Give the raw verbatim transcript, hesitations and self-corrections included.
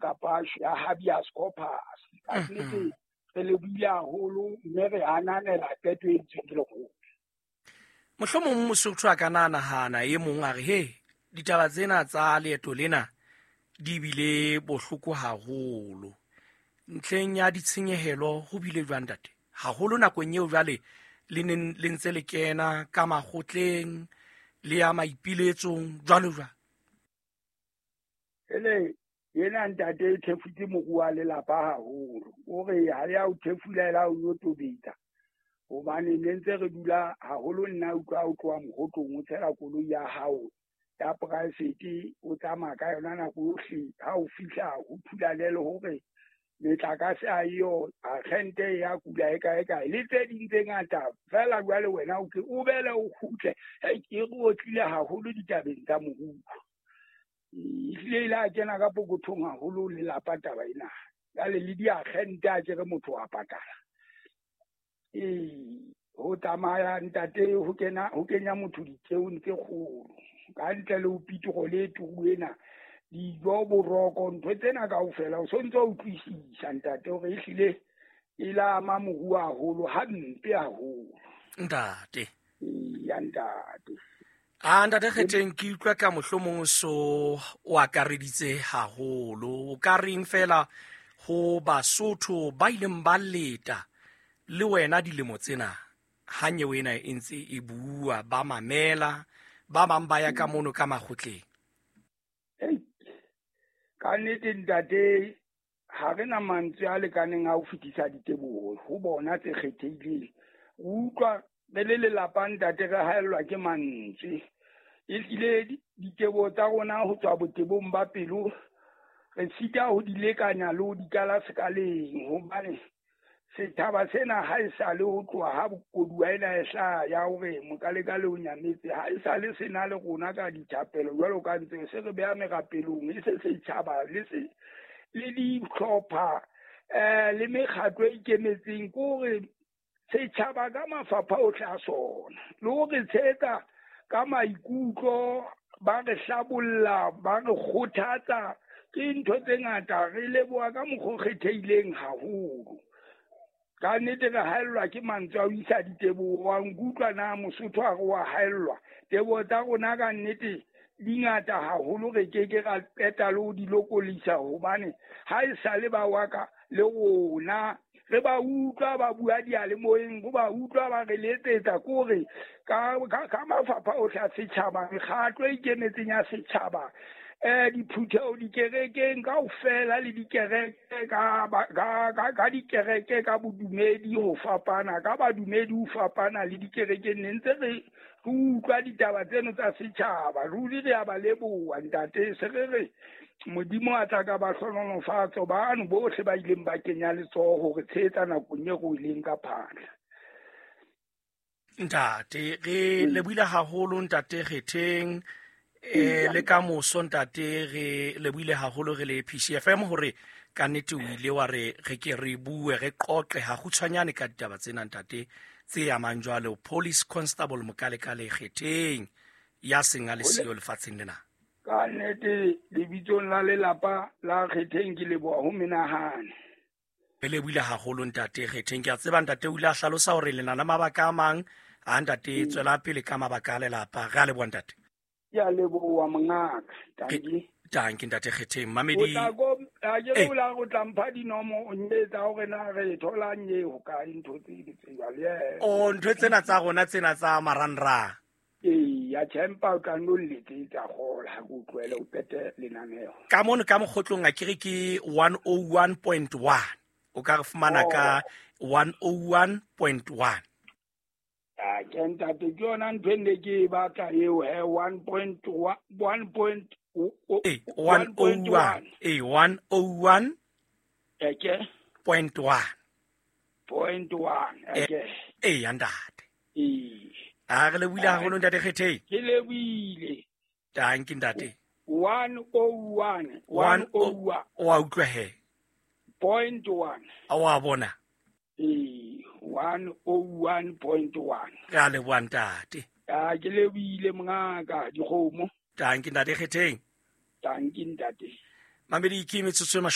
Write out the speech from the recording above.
kapa ya habeas corpus. Ka nnete re lebohile haholo mme re ananela qeto e entsweng ke lekgotla. Mohlomong Mosotho a ka na nahana e mong a re he ditaba tsena tsa leeto lena di bile bohloko haholo. Ntlheng ya ditshenyehelo ho bile jwang ntate? Haholo nakong eo jwale le neng le ntse le kena ka makgotleng le ya maipiletsong jwalo jwalo. Ele yena ntate e thefutse moruo wa lelapa haholo. O re ha ya o thefula ela o yo tobetsa. Hobane ne ntse re dula haholo nna utlwa o tloha mohotlong o tshela koloi ya hao ya poraefete o tsamaya ka yona nako yohle. Ha o fihla o thulane le hore metlakase ha eyo, akgente ya kula e kae kae le tse ding tse ngata. Feela jwale wena o ke o bele o kgutle. Hei, e re otlile haholo ditabeng tsa moruo. Ehlile ile a kena ka pokothong haholo lelapa taba ena. Jwale le diakgente a ke re motho wa patala. Ee, ho tsamaya ntate ho kena ho kenya motho ditjeong tse kgolo. Ka ntle le ho petrol e turu ena, dijo, boroko, ntho tsena kaofela o sontso o utlwisisa ntate hore ehlile e la ama moruo haholo hampe haholo. Ntate. Eya ntate. A ntate Kgetheng ke utlwa ka mohlomong so o akareditse haholo. O ka reng fela ho Basotho ba ileng ba leta le wena dilemo tsena ha nyewe ena e ntse e bua, ba mamela, ba bang ba ya ka mono ka makgotleng? Ka nnete ntate, ha re na mantswe a lekaneng a ho fetisa diteboho ho bona tse kgethehileng. Re utlwa re le lelapa ntate re haellwa ke mantswe. Ehlile diteboho tsa rona ho tswa botebong ba pelo re sita ho di lekanya le ho di kala sekaleng, hobane setjhaba sena ha e sale ho tloha ha koduwa ena e hlaha ya hore mokalekale o nyametse, ha e sale se na le rona ka dithapelo jwalo ka ntse se re beha merapelong, e se setjhaba le se le dihlopha eh le mekgatlo e ikemetseng, ke hore setjhaba ka mafapha ohle a sona le hore tshehetsa ka maikutlo, ba re hlabolla, ba re kgothatsa ke ntho tse ngata. Re leboha ka mokgwa o kgethehileng haholo. Ka nnete re haellwa ke mantswe a ho isa diteboho. Wa nkutlwa na Mosotho a re wa haellwa? Teboho tsa rona ka nnete di ngata haholo, re ke ke ra qeta le ho di lokolisa, hobane ha e sale ba wa ka le rona re ba utlwa ba bua diyalemoyeng, ho ba utlwa ba re letsetsa, ke hore ka, ka, ka mafapha ohle a setjhaba, mekgatlo e ikemetseng ya setjhaba, eh diphutheho dikerekeng kaofela le dikereke ka, ka, ka, ka dikereke ka bodumedi ho fapana, ka badumedi ho fapana le dikerekeng, ne ntse re re utlwa ditaba tseno tsa setjhaba. Ruri re a ba leboha ntate, se re re Modimo a tla ka ba hlohonolofatsa bano bohle ba ileng ba kenya letsoho hore tshehetsa nakong e re ileng ka phatla. Ntate, re lebohile haholo ntate Kgetheng. Eh le ka moso ntate, re lebohile haholo re le P C F M hore ka nnete o ile wa re re ke re bue re qoqe ha kgutshwanyane ka ditaba tsena ntate tse amang jwalo Police Constable Mokalekale Kgetheng ya seng a le siyo lefatsheng lena. Ka nnete lebitsong la lelapa la Kgetheng ke leboha ho menahane. Re lebohile haholo ntate Kgetheng. Ke a tseba ntate o ile a hlalosa hore le na le mabaka a mang a ntate, tswela pele ka mabaka a lelapa. Re a leboha ntate. Ke a leboha mongaka. Tanki. Tanki ntate Kgetheng. Mamedi. O tla ko, a ke re o la go tla mpha dinomo, o nyetsa hore na re thola nye ho kae ntho tse di tse jwale. O ntho tsena tsa rona tsena tsa marangrang. Ee, ya tjhempa o tla nno letsetsa kgola ha ke utlwele o qete lenaneo. Ka mono ka mokgotlong a ke re ke one oh one point one. O ka re fumana ka one oh one point one. A ke ntate, ke yona ntho e ne ke e batla eo he, one point one, one point o, o, Eh, one oh one. Eh, one oh one. Eke. Point one. Point one, eke. Eh, ya ntate. Eh. A re lebohile haholo ntate Kgetheng. Ke lebohile. Tanki ntate. One oh one, one oh one. O a utlwa he. Point one. A wa bona. Eh, one oh one point one. Re a leboha ntate. A ke lebohile mongaka dikgomo. Tanki ntate Kgetheng. Tanki ntate. Mamedi ke metsotso e mashome